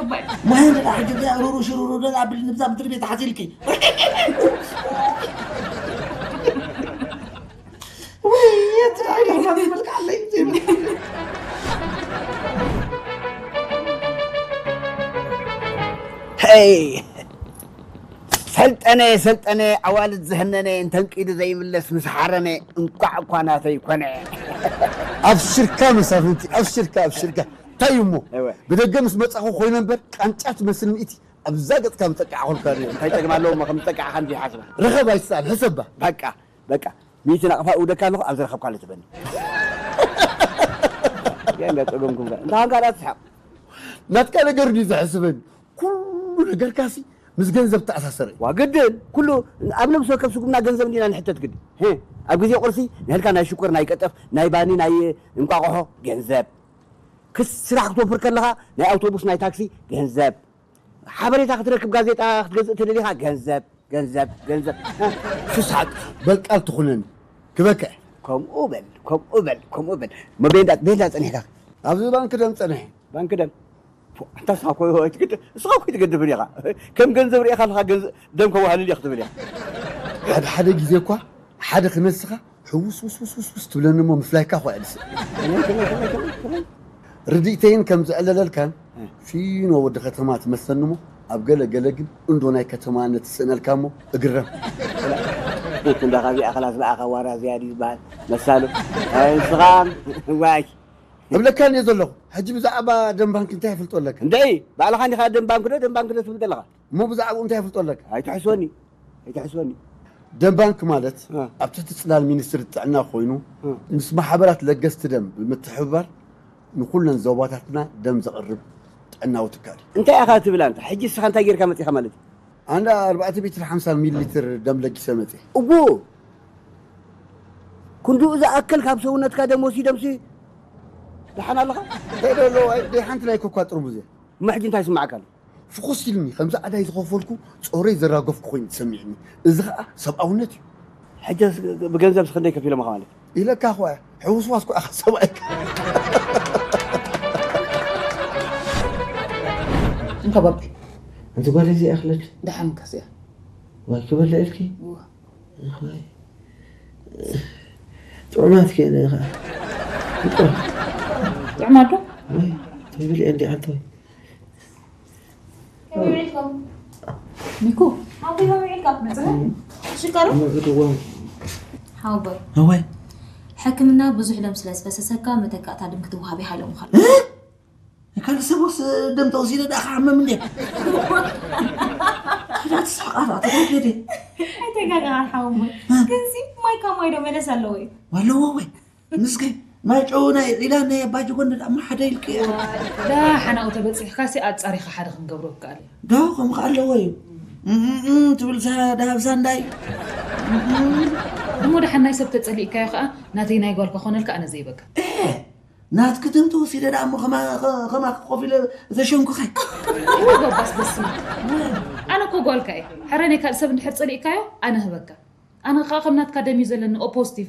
ማይ እንደ ዳሕ ጅዳ ሩሩ ሽሩሩ ደላ ብል ንብዛ ምድሪ ቤት ሓሲልኪ። ወይ የት ዳሕ ዳሕ መልካ ኣለይ። ሄይ! ሰልጠነ፣ ሰልጠነ፣ ኣዋልድ ዝህነነ፣ እንተንቂዱ ዘይምለስ ምስ ሓረነ፣ እንቋዕ እኳ ናተይ ኮነ። ኣብሽርካ መሳፍንቲ፣ ኣብሽርካ፣ ኣብሽርካ። እንታይ እዩ እሞ? እወ። ብደገ ምስ መጻኹ ኮይነ እምበር፣ ቃንጫ ትመስል ሚእቲ ኣብዛ ገጽካ ምጠቃዕኹልካ ነይሩ። እንታይ ጸገም ኣለዎ እሞ ከም ዝጠቃዕኻ እንዲ ሓስባ? ርኸብ ኣይትስኣል፣ ሕሰባ። በቃ፣ በቃ። ሚእቲ ናቕፋ እውደካ ኣለኹ፣ ኣብ ዝረኸብካሉ ትበኒ። ገለ ጸገምኩም ከ? እንታይ ኾንካ ደኣ ትስሕቕ? ናትካ ነገር ድዩ ዘሕስበኒ? ኩሉ ነገርካሲ ምስ ገንዘብ ተኣሳሰረ። ዋ፣ ግድን፣ ኩሉ ኣብ ነብሲ ወከፍ ስጉምና ገንዘብ እንዲና ንሕተት ግድን። ሄ፣ ኣብ ግዜ ቁርሲ ንህልካ ናይ ሽኮር፣ ናይ ቀጠፍ፣ ናይ ባኒ፣ ናይ እንቋቑሖ ገንዘብ። ክስ-፣ ስራሕ ክትወፍር ከለኻ ናይ ኣውቶቡስ፣ ናይ ታክሲ ገንዘብ። ሓበሬታ ክትረክብ ጋዜጣ ክትገዝእ ተደሊኻ ገንዘብ፣ ገንዘብ፣ ገንዘብ። ሱሳቅ በል ቃል ትኹነኒ ክበክዕ። ከምኡ በል፣ ከምኡ በል፣ ከምኡ በል። እሞ ቤንዳ፣ ቤንዳ ጸኒሕካ? ኣብዚ ባንክ ደም ጸኒሐ። ባንክ ደም? ፎ፣ ኣንታ ንስኻ እኮ ኣይትግድ-፣ ንስኻ እኮ ኣይትገድፍን ኢኻ። ከም ገንዘብ ርኢኻ ኣለኻ፣ ገንዘ-፣ ደም ከዋህልል እየ ክትብል ኢኻ። ሓደ ሓደ ግዜ እኳ ሓደ ክነስኻ ሕውስ ውስ ውስ ውስ ውስ ትብለኒ እሞ ምፍላይካ እኳ እየ ዝስእ። ከመይ፣ ከመይ፣ ከመይ፣ ከመይ፣ ከመይ? ርድኢተይን ከም ዝዕለለልካን እ። ፊኖ ወዲ ከተማ ትመስለኒ እሞ ኣብ ገለ ገለ ግን እንዶ ናይ ከተማነት ትስእነልካ እሞ እግረም። እንዳ ካብዚኣ ክላስ ብኣኻ ዋራ ዝያድ እዩ ዝበሃል መሳሉ። ኣይ ንስኻ ዋይ። እብለካ እየ ዘለኹ። ሕጂ ብዛዕባ ደም ባንክ እንታይ ይፍልጦ ኣለካ? እንደይ፣ ባዕልኻ እንዲኻ ደም ባንክ ዶ፣ ደም ባንክ ዶ ትብል ዘለኻ? እሞ ብዛዕባኡ እንታይ ይፍልጦ ኣለካ? ኣይትሕስወኒ፣ ኣይትሕስወኒ። ደም ባንክ ማለት እ። ኣብ ትሕቲ ጽላል ሚኒስትሪ ጥዕና ኮይኑ እ። ምስ ማሕበራት ለገስቲ ደም ብምትሕብባር ንኹለን ዞባታትና ደም ዘቕርብ ጥዕናዊ ትካል እዩ። እንታይ ኢኻ ትብል ኣንታ? ሕጂ ንስኻ እንታይ ጌርካ መጺኻ ማለት እዩ? ኣንዳ ኣርባዕተ ሜትር ሓምሳ ሚሊ ሊትር ደም ለጊሰ መጺእ። እዎ፣ ክንድኡ ዝኣክል ካብ ሰውነትካ ደም ወሲዶምሲ ደሓን ኣለኻ? እንታይ ዶ ኣለዎ? ኣይ፣ ደይ ሓንቲ ናይ ኮካ ጥርሙዝ እያ። እሞ ሕጂ እንታይ ይስማዓካ ኣሎ? ፍኹስ ኢልኒ፣ ከምዚ ኣዳይ ዝኸፈልኩ ጾረይ ዘራገፍኩ ኮይኑ ተሰሚዕኒ። እዚ ኸኣ ሰብኣውነት እዩ። ሕጅስ ብገንዘብስ ክንደይ ከፊሎምኻ ማለት እዩ? ኢለካ እኮ እየ፣ ሕውስዋስ እኮ ኢኻ ሰብኣይካ። እንካ ባቢ፣ ኣንቲ ጓል እዚኣ ክለድ። ደሓን ከስያ። ዋይ ክበልዕ ኢልኪ? እወ። እዋይ። ጥዑማት ከ ኢለ ኸዓ። ጥዑም። ጥዑማት ዶ? ወይ፣ ተብልዕ እንዲ ዓንተ ወይ። ከመይ ውዒልኩም? ሚኩ። ሓወይ፣ ከመይ ውዒልካ? መጽእ? ሽከሩ? መጽእ፣ እዋ። ሓወይ። እዋይ። ሕክምና ብዙሕ ደም ስለ ዝፈሰሰካ መተካእታ ደም ክትወሃብ ኢኻ ኢሎምኻ። እ? ካልእ ሰብ ወስ ደም ተወሲደ ደኣ ክሓመም እንዴ? ካልእ ትስሕቕ ኣላ፣ ተጋገደ። ኣይተጋገኻን ሓወይ። እ? ግንሲ ማይ ካብ ማይ ዶ መለስ ኣለዎ እዩ? ኣለዎ ወይ? ምስከይ ማይ ጨው ናይ ዒላ ናይ ኣባ ጀጎንዳ ደኣ እሞ ሓደ ኢልክዮ። ደሓን ኣብኡ ተበጺሕካሲ ኣጻሪኻ ሓደ ክንገብሮ ይከኣል እዩ። ዶ ከምኡ ከ ኣለዎ እዩ። እም፣ እም፣ እም ትብል ሳ-፣ ደሃብ ሳንዳይ። እም፣ እም። እሞ ደሓን ናይ ሰብ ተጸሊእካዮ ከኣ ናተይ ናይ ጓል ከኾነልካ ኣነ ዘይበካ። ኤ፣ ናትኪ ደም ተወሲደ ደኣ እሞ ከማ-፣ ከ-፣ ከማኺ ኮፍ ኢለ ዘሸንኩኸ። እወ፣ ጎባስ በስመ። ኣነ እኮ ጓልካ እየ። ሕረ ናይ ካልእ ሰብ እንድሕር ጸሊእካዮ ኣነ ህበካ። ኣነ ከኣ ከም ናትካ ደም እዩ ዘለኒ፣ ኦ ፖዚቲቭ።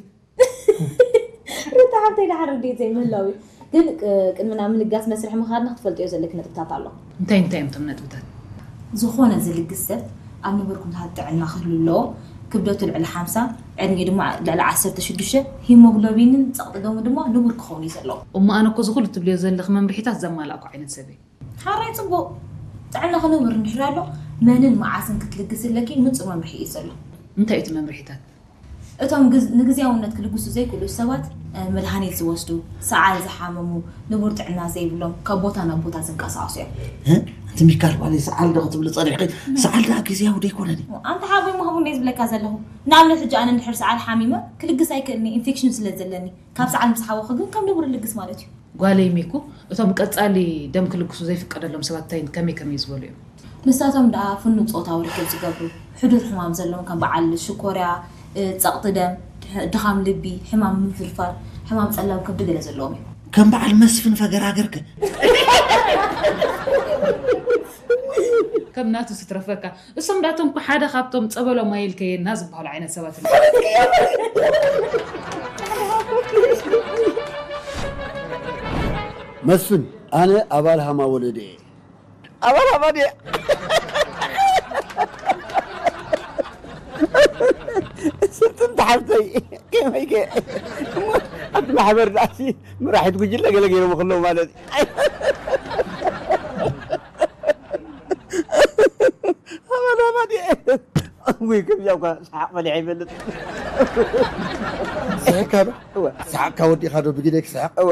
ሩታ ሓብተይ፣ ደሓር ርድኢት ዘይምህላው እዩ። ግን፣ ቅ-፣ ቅድሚ ናብ ምልጋስ መስርሕ ምኻድና ክትፈልጥዮ ዘለኪ ነጥብታት ኣሎ። እንታይ እንታይ እዮም እቶም ነጥብታት? ዝኾነ ዝልግስ ሰብ ኣብ ንቡር ኩነታት ጥዕና ክህሉ ኣለዎ። ክብደቱ ልዕሊ ሓምሳ፣ ዕድሚኡ ድማ ልዕሊ ዓሰርተ ሽዱሽተ፣ ሂሞግሎቢንን ጸቕጢ ደሙ ድማ ንቡር ክኸውን እዩ ዘለዎ። እሞ ኣነ እኮ እዚ ኩሉ ትብልዮ ዘለኺ መምርሒታት ዘማላእኩ ዓይነት ሰብ እየ። ሓራይ ጽቡቕ። ጥዕናኺ ንቡር እንድሕር ኣሎ፣ መንን መዓስን ክትልግሲ ኣለኪ ንጹር መምርሒ እዩ ዘሎ። እንታይ እዩ እቲ መምርሒታት? እቶም ግዝ-፣ ንግዝያውነት ክልግሱ ዘይክእሉ ሰባት፣ እ፣ መድሃኒት ዝወስዱ፣ ሰዓል ዝሓመሙ፣ ንቡር ጥዕና ዘይብሎም፣ ካብ ቦታ ናብ ቦታ ዝንቀሳቐሱ እዮም። እ? ኣንቲ ሚካል ጓለይ ሰዓል ዶ ክትብሊ ጸኒሕኪ? ሰዓል ደኣ ግዝያዊ ዶ ኣይኮነን? ኣንታ ሓወይ፣ ምሃቡ እንደ ዝብለካ ዘለኹ። ንኣብነት ሕጂ ኣነ እንድሕር ሰዓል ሓሚመ፣ ክልግስ ኣይክእልን እየ፣ ኢንፌክሽን ስለ ዘለኒ። ካብ ሰዓል ምስ ሓወኹ ግን ከም ንቡር ልግስ ማለት እዩ። ጓለይ ሚኩ፣ እቶም ቀጻሊ ደም ክልግሱ ዘይፍቀደሎም ሰባት እንታይ ከመይ ከመይ ዝበሉ እዮም? ንሳቶም ደኣ ፍኑው ጾታዊ ርክብ ዝገብሩ፣ ሕዱር ሕማም ዘለዎም ከም በዓል ሽኮርያ፣ እ፣ ጸቕጢ ደም፣ ድሕ-፣ ድኻም ልቢ፣ ሕማም ምፍርፋር፣ ሕማም ጸላም ከብዲ ገለ ዘለዎም እዮም። ከም በዓል መስፍን ፈገራገርከ። ከም ናቱ ስትረፈካ። እሶም ዳቶም እኮ ሓደ ካብቶም ጸበሎም ኣይልከየና ዝበሃሉ ዓይነት ሰባት እዮም። መስፍን፣ ኣነ ኣባል ሃማ ወለደ እየ። ኣባል ኣባል እየ። ስንትን ተሓብተይ ከመይ ከ? እሞ ኣብቲ ማሕበር ዳእሲ መራሒት ጉጅለ ገለ ገይሮም ከለዉ ማለት እዩ። ኣባል ኣባል እየ። ወይ ከምዚኣ እኳ ሰሓቕ በሊዐ ይፈልጥ። ስሕካ ዶ? እወ። ሰሓቕካ ወዲእካ ዶ ብግደይ ክስሕቕ? እወ።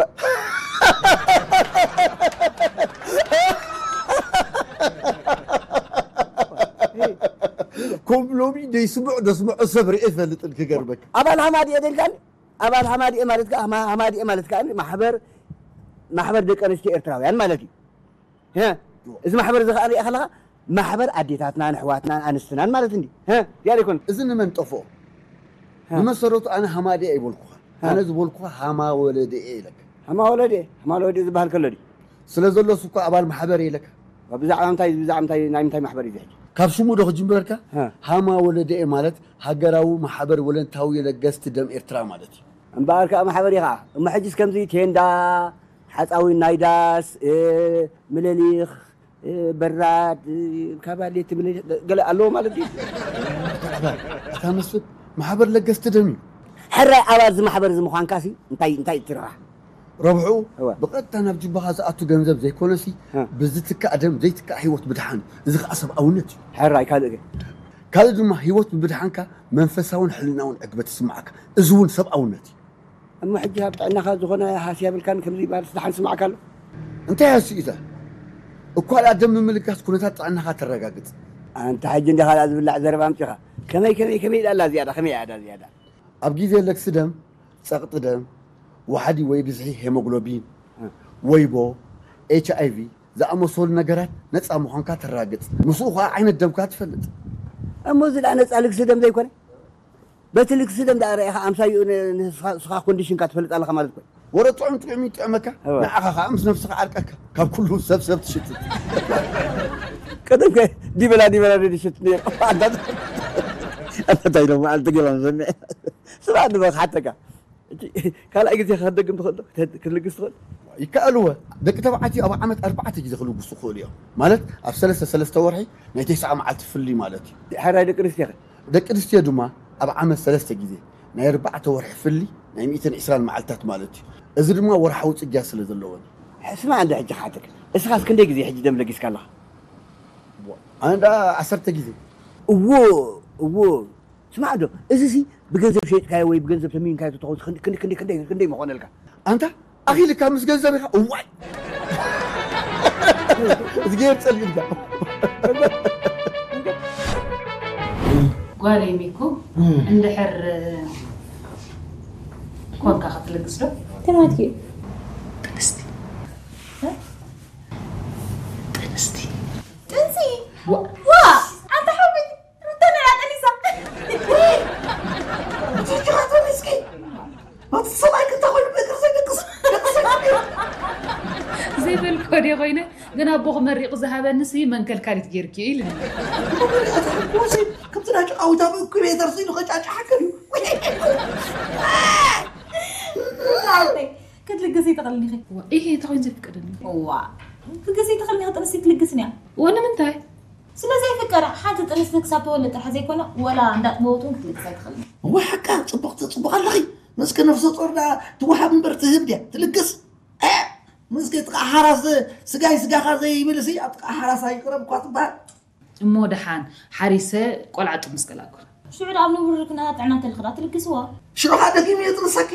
ከም ሎሚ ደይስምዑ ደስምዑ ሰብ ርእየ ይፈልጥን ክገርመካ። ኣባል ሃማድኤ ደልካኒ? ኣባል ሃማድኤ ማለት ከኣ፣ ሃማ-፣ ሃማድኤ ማለት ከኣ ማሕበር፣ ማሕበር ደቂ ኣንስትዮ ኤርትራውያን ማለት እዩ። ሀ? እዚ ማሕበር እዚ ከኣ ሪኣ ከለኻ ማሕበር ኣዴታትናን ኣሕዋትናን ኣንስትናን ማለት እንዲ። ሀ? ያለ ይኮን? እዚ ንመን ጠፍኦ? ሀ? ብመሰረቱ ኣነ ሃማድኤ ኣይበልኩኻ። ሀ? ኣነ ዝበልኩኻ ሃማ ወለደ እየ ኢለካ። ሃማ ወለደ? ሃማ ወለደ ዝበሃል ከሎ ድዩ? ስለ ዘሎስ እኮ ኣባል ማሕበር እየ ኢለካ። ብዛዕባ ምንታይ፣ ብዛዕባ ምንታይ፣ ናይ ምንታይ ማሕበር እዩ እዚ ሕጂ? ካብ ሽሙ ዶ ክጅምረልካ? ሀ። ሃማ ወለደ እየ ማለት ሃገራዊ ማሕበር ወለንታዊ ለገስቲ ደም ኤርትራ ማለት እዩ። እምበኣር ከኣ ማሕበር እዩ ከኣ። እሞ ሕጅስ ከምዚ ቴንዳ፣ ሓጻዊን ናይ ዳስ፣ እ፣ ምልሊኽ፣ እ፣ በራድ፣ እ፣ ካባሌት ምልሊኽ ገ-፣ ገለ ኣለዎ ማለት ድዩ? ኣታ መስፍን፣ ማሕበር ለገስቲ ደም እዩ። ሕራይ ኣባል እዚ ማሕበር እዚ ምዃንካሲ እንታይ፣ እንታይ ትረብሓ? ረብሕኡ እወ። ብቐጥታ ናብ ጅባኻ ዝኣቱ ገንዘብ ዘይኮነሲ፣ እ። ብዝትካእ ደም ዘይትካእ ህይወት ምድሓን እዩ። እዚ ኸኣ ሰብኣውነት እዩ። ሕራይ ካልእ ከ? ካልእ ድማ ህይወት ብምድሓንካ መንፈሳውን ሕልናውን ዕግበት ይስምዓካ። እዚ እውን ሰብኣውነት እዩ። እሞ ሕጂ ኣብ ጥዕናኻ ዝኾነ ሃስያ የብልካን ከምዚ ማለት ደሓን ስምዓካ ኣሎ? እንታይ ሃስዩ እዩ እዛ? እኳ ደኣ ደም ምምልጋስ ኩነታት ጥዕናኻ ተረጋግጽ። ኣንታ ሕጂ እንዲኻ ደኣ ዝብላዕ ዘረባ ኣምጺኻ። ከመይ፣ ከመይ፣ ከመይ ኢላ ኣላ እዚኣ ደኣ? ከመይ እያ ደኣ እዚኣ ደኣ? ኣብ ግዜ ለግሲ ደም፣ ጸቕጢ ደም፣ ዋሕዲ ወይ ብዝሒ ሄሞግሎቢን፣ እ። ወይቦ፣ ኤች ኣይ ቪ ዝኣመሰሉ ነገራት ነጻ ምዃንካ ተረጋግጽ። ምስኡ ኸኣ ዓይነት ደምካ ትፈልጥ። እሞ እዚ ደኣ ነጻ ልግሲ ደም ዘይኮነ? በቲ ልግሲ ደም ደኣ ረኢኻ ኣምሳይኡ ን-፣ ንስኻ፣ ንስኻ ኮንዲሽንካ ትፈልጥ ኣለኻ ማለት እኮ እዩ። ወረ ጥዑም ጥዑም ይጥዕመካ፣ እወ። ንዓኻ ኸኣ ምስ ነብስኻ ዓርቀካ። ካብ ኩሉ ሰብ ሰብ ትሽትት። ቀደም ከ ዲበላ ዲበላ ዶ ይሽት ነይሩ? ኣንታ፣ ኣንታ እንታይ ኢሎም መዓልቲ ገባም ሰሚዐ። ስማዕ ንበል ክሓተካ። እቲ ካልኣይ ግዜ ክትደግም ትኽእል ዶ? ክት-፣ ክትልግስ ትኽእል? ይከኣል እወ። ደቂ ተባዕትዮ ኣብ ዓመት ኣርባዕተ ግዜ ክልግሱ ይኽእሉ እዮም። ማለት ኣብ ሰለስተ፣ ሰለስተ ወርሒ ናይ ተስዓ መዓልቲ ፍሊ ማለት እዩ። ሕራይ ደቂ ኣንስትዮ ኸ? ደቂ ኣንስትዮ ድማ ኣብ ዓመት ሰለስተ ግዜ ናይ ኣርባዕተ ወርሒ ፍሊ ናይ ሚእትን ዕስራን መዓልታት ማለት እዩ። እዚ ድማ ወርሓዊ ጽግያት ስለ ዘለወን እዩ። ስማዕ እንደ ሕጂ ክሓተካ። እስኻስ ክንደይ ግዜ ሕጂ ደም ለጊስካ ኣለኻ? ኣነ ደኣ ዓሰርተ ግዜ። እዎ፣ እዎ። ስማዕ ዶ፣ እዚሲ ብገንዘብ ሸይጥካዮ ወይ ብገንዘብ ተሚንካዮ ተትኸውን ክንድ-፣ ክንድ-፣ ክንድ-፣ ክንደይ፣ ክንደይ ምኾነልካ? ኣንታ ኣኺልካ ምስ ገንዘብ ኢኻ? እዋይ! እዝግሄር ጸሊእልካ። ጓለይ ሚኩ፣ እም። እንድሕር ኮንካ ክትልግስ ዶ? እንታይ ማለት እዩ? ጥንስቲ። እ? ጥንስቲ? ጥንሲ? ዋ። ዋ! ኣንታ ሓወይ፣ ሩታ ንዓ ጠኒሳ። ብትሕትኻ ጠኒስኪ። ኣቲ ሰብኣይ ክልተ ኮይኑ ብእግሪ ዘይደቅስ፣ ደቅስ ኣይኮነን። ዘይበልኮ ድየ ኮይነ፣ ግን ኣቦ ክመሪቑ ዝሃበኒ ሲ መንከልካሊት ጌርኪ እዩ ኢሉኒ። ኣቲ ሓጎሰይ፣ ከምቲ ናይ ጭቃዊት ኣብ እኩቤተር ስኢሉ ከጫጭሓካ ድዩ? ናተይ፣ ክትልግሲ ትኽእልኒ ኢኺ። እዋ፣ ኢሄ፣ እንታይ ኮይኑ ዘይፍቀደኒ? እዋ፣ ክትልግሲ ትኽእልኒ ኢኺ፣ ጥንሲ ክትልግስኒ እያ። እዋ፣ ንምንታይ? ስለ ዘይፍቀዳ፣ ሓንቲ ጥንስቲ ክሳብ ተወልድ ጥራሕ ዘይኮነ፣ ወላ እንዳጥበወት እውን ክትልግስ ኣይትኽእልን። እዋ፣ ሓቃ፣ ጽቡቕ፣ ጽቡቕ ኣለኺ። ምስኪ ነፍሰ ጾር ደኣ ትወሃብ እምበር ትህብ ድያ? ትልግስ? እ! ምስኪ ጥቓ ሓራስ ስጋይ ስጋኻ ዘይብል ሲ፣ ኣብ ጥቓ ሓራስ ኣይቅረብ እኳ ትበሃል። እሞ ደሓን ሓሪሰ ቆልዓ ጥምስ ገላኩ። ሽዑ ደኣ ኣብ ንቡር ርክና ጥዕና እንተልኽዳ ትልግስዋ። ሽዑ ኸኣ ደጊሙ የጥንሰኪ።